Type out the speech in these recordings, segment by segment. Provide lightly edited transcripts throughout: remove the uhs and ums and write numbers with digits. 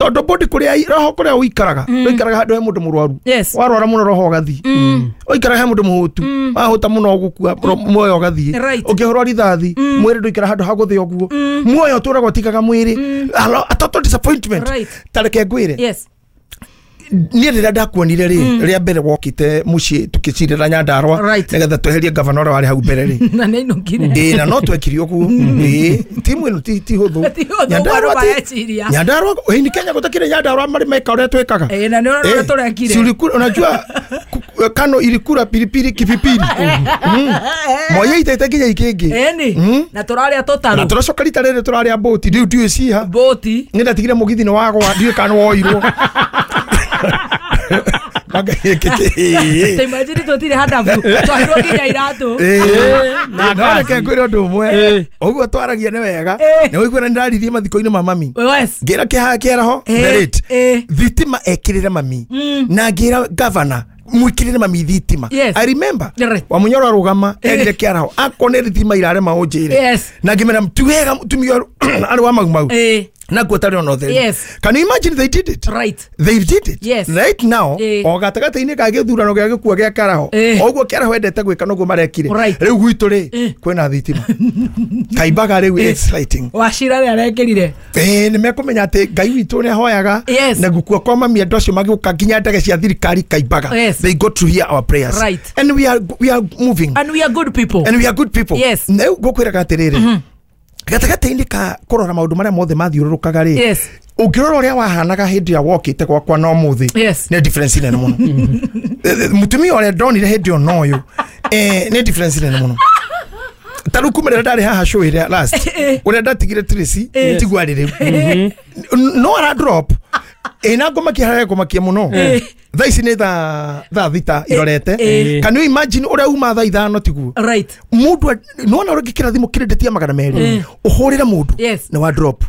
Tondu body kuria roho kuria uikaraga, uikaraga handu he mundu murwaru. Warwara muno roho ugathii. Uikaraga he mundu muhutu, wahuta muno ugukua muoyo ugathii. Ukihurwo rithathi mwiri nduikara handu ha guthii uguo. Muoyo uturaga utikaga mwiri. A total disappointment. Tareke ngwire. Niä rä rä a ndakuonire rä rä a mbere wokite muciä tå cirä Nyandarua nĩgetha tweherie gavana ũrĩa warĩ hau mbere rĩ. Na nĩ ainũkire. Ĩĩ, na no twekire ũguo. Ĩĩ, timu ĩno ti hũthũ. Ti hũthũ, Nyandarua ũguo mareciria. Nyandarua ĩni Kenya gũtakĩrĩ Nyandarua marĩ meka ũrĩa twĩkaga. Ĩĩ, na nĩ ũrona ũrĩa tũrekire. Si ulikula, unajua Kano ilikula pilipili kipipili. Moya itaita nginya ikĩngĩ. Ĩni. Na tũrarĩa tũtarũ. Na tũracoka rita rĩrĩ tũrarĩa mbũti, rĩu ndiũĩ ciha. Mbũti. Nĩ ndatigire mũgithi nĩ wagwa, ndiũĩ kana nĩ woirwo. Ta imagine tũtirĩ handabu, twahirwo nginya iratũ. No reke ngwĩre ũndũ ũmwe, ũguo twaragia nĩ wega, nĩ ũiguo na nĩndaririe mathiko-inĩ ma mami. Ngĩra kĩhaha kĩaraho the late thitima ekĩrĩre mami, na ngĩra gavana mwikirire mami thitima. I remember wa Munyoro arũgama erire kĩaraho akorwo nĩ thitima irarema ũnjĩre, na ngĩmera ti wega mũtumia arĩ wa Mau Mau na guo tarĩ ona ũtheri. Can you imagine they did it? Right. They did it. Yes. Right now, o gatagatĩ-inĩ ka gĩthurano gĩa gĩkuo gĩa kĩaraho, o ũguo kĩaraho endete gwĩka noguo marekire. Rĩu gwitũ rĩ, kwĩna thitima. Kaimbaga rĩu it's lighting. Wachira rĩ arekĩrire. Nĩ mekũmenya atĩ Ngai witũ nĩ ahoyaga, na gũkua kwa mami andũ acio magĩũka nginya ndege cia thirikari Kaimbaga. They got to hear our prayers. Right. And we are moving. And we are good people. And we are good people. Yes. Rĩu ngũkwĩraga atĩrĩrĩ, gatagatĩ-inĩ ka kũrora maũndũ marĩa mothe mathiũrũrũkaga rĩ, ũngĩrora ũrĩa wahanaga hĩndĩ ĩrĩa wokĩte gwakwa na ũmũthĩ, nĩ difference nene mũno. Mũtumia ũrĩa ndonire hĩndĩ ĩyo na ũyũ, nĩ difference nene mũno. Ta rĩu kuma rĩrĩa ndarĩ haha show ĩrĩa last, ũrĩa ndatigire Tracy, tiguo arĩ rĩu. No ara drop. Na ngũmakia harĩa ngũmakia mũno. Thaa ici nĩ thaa 6 irorete. Can you imagine ũrĩa uma thaa 5 tiguo? Right. Mũndũ nĩwona ũrĩa ũngĩkĩra thimũ credit ya 200, ũhũrĩre mũndũ nĩ wa drop.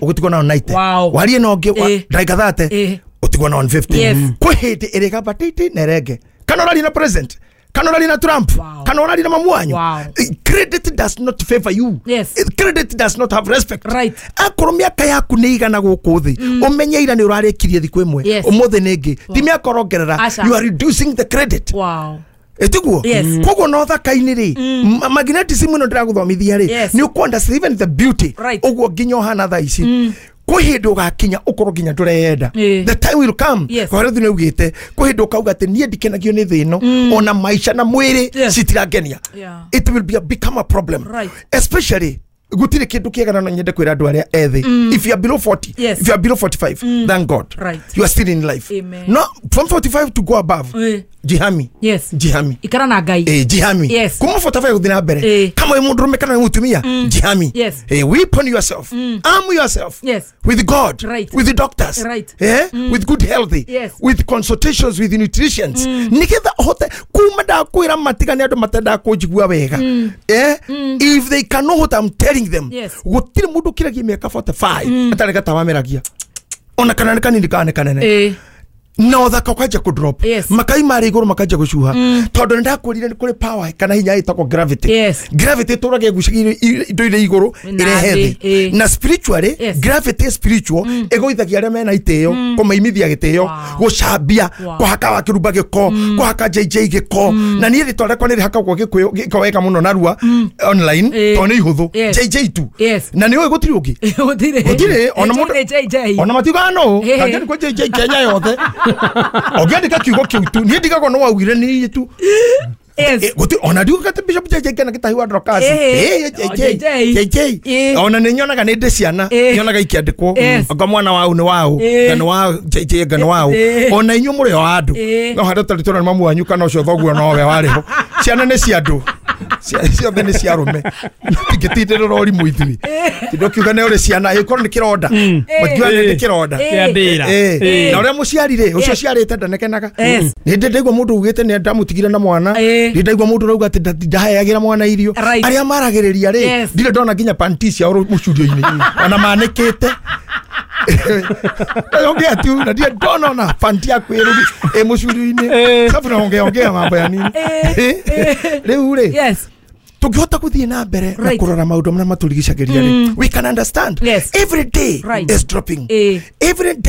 Ũgũtigwo na 90. Warie na ũngĩ ndagĩka 30, ũtigwo na 150. Kwĩ hĩndĩ ĩrĩgamba titi na ĩrenge. Kana ũraria na president, kana ũraria na Trump, kana ũraria na mamu wanyu. Credit does not favor you. Credit does not have respect. Right. Akorwo mĩaka yaku nĩ igana gũkũ thĩ, ũmenye ira nĩ ũrarĩkirie thikũ ĩmwe, ũmũthĩ nĩ ĩngĩ. Ti mĩaka ũrongerera, you are reducing the credit. Ĩtiguo? Koguo no thaka-inĩ rĩ, magnetism ĩno ndĩragũthomithia rĩ, nĩ ũkũ even the beauty. Ũguo nginya ũhana thaa ici. Kwĩ hĩndĩ ũgakinya ũkorwo nginya ndũreyenda. The time will come. Kwa rĩu nĩ ugĩte, kwĩ hĩndĩ ũkauga atĩ niĩ ndikenagio nĩ thĩ ĩno, ona maica na mwĩrĩ citirangenia. It will be become a problem. Especially gũtirĩ kĩndũ kĩega na no nyende kwĩra andũ arĩa ethĩ. If you are below 40, if you are below 45, thank God. You are still in life. No, from 45 to go above, jihami. Jihami. Ikara na Ngai. Jihami. Kuma 45 gũthiĩ na mbere. Kama wĩ mũndũrũme kana wĩ mũtumia, jihami. Weapon yourself. Arm yourself. With God. With the doctors. With good health. With consultations with nutritionists. Nĩgetha ũhote kuma ndakwĩra matigane andũ matendaga kũnjigua wega. If they can know what I'm telling them, gũtirĩ mũndũ ũkĩragia mĩaka 45 atarĩ gatawameragia. Ona kana nĩ kanini kana nĩ kanene. Na ũthaka ũkanjia kũ drop. Makai marĩ igũrũ makanjia gũcuha. Tondũ nĩ ndakwĩrire nĩ kũrĩ power kana hinya ĩtagwo gravity. Gravity ĩtũraga ĩgucagia indo iria igũrũ ĩrehe thĩ. Na spiritually, gravity spiritual ĩgũithagia arĩa mena itĩo, kũmaimithia gĩtĩo, gũcambia, kũhaka wa kĩrumba gĩko, kũhaka JJ gĩko. Na niĩ rĩtwa rĩakwa nĩ rĩhakagwo gĩko wega mũno narua online, tondũ nĩ ihũthũ. JJ tu. Na nĩ ũĩ gũtirĩ ũngĩ. Gũtirĩ. Ona mũndũ ona matiugaga nũ. Kangĩandĩkwo JJ Kenya yothe. Ũngĩandĩka kiugo kĩu tu, niĩ ndigagwo no waugire nĩ tu. Ona ndiugaga atĩ Bishop JJ kana Gĩtahi wa Dorcas. JJ. Ona nĩ nyonaga nĩ ndĩ ciana, nyonaga ikĩandĩkwo. Anga mwana wau nĩ wau, nga nĩ wa JJ nga nĩ wau. Ona inyuĩ mũrĩ o andũ. No handũ tarĩ tũrona mamu wanyu kana ũcio thoguo nowe warĩ ho. Ciana nĩ cia andũ. Ciothe nĩ cia arũme. Tingĩtindĩrĩra ũrimũ ithuĩ. Tindũ kiuga nĩ ũrĩ ciana, ĩkorwo nĩ kĩronda. Matiuga nĩ kĩronda. Na ũrĩa mũciari rĩ, ũcio ũciarĩte ndanekenaga. Nĩ ndĩ ndaigua mũndũ ugĩte nĩ ndamũtigire na mwana. Nĩ ndaigua mũndũ ũrauga atĩ ndaheagĩra mwana irio. Arĩa maragĩrĩria rĩ, ndirĩ ndona nginya panty ciao mũcurio-inĩ. Ona manĩkĩte. Ongea tu na ndirĩ ndona ona panty yaku ĩ mũcurio-inĩ. Sababu naongea ongea mambo ya nini. Rĩu rĩ, tũngĩhota gũthiĩ na mbere na kũrora maũndũ marĩa matũrigicagĩria rĩ, we can understand. Every day is dropping. Every day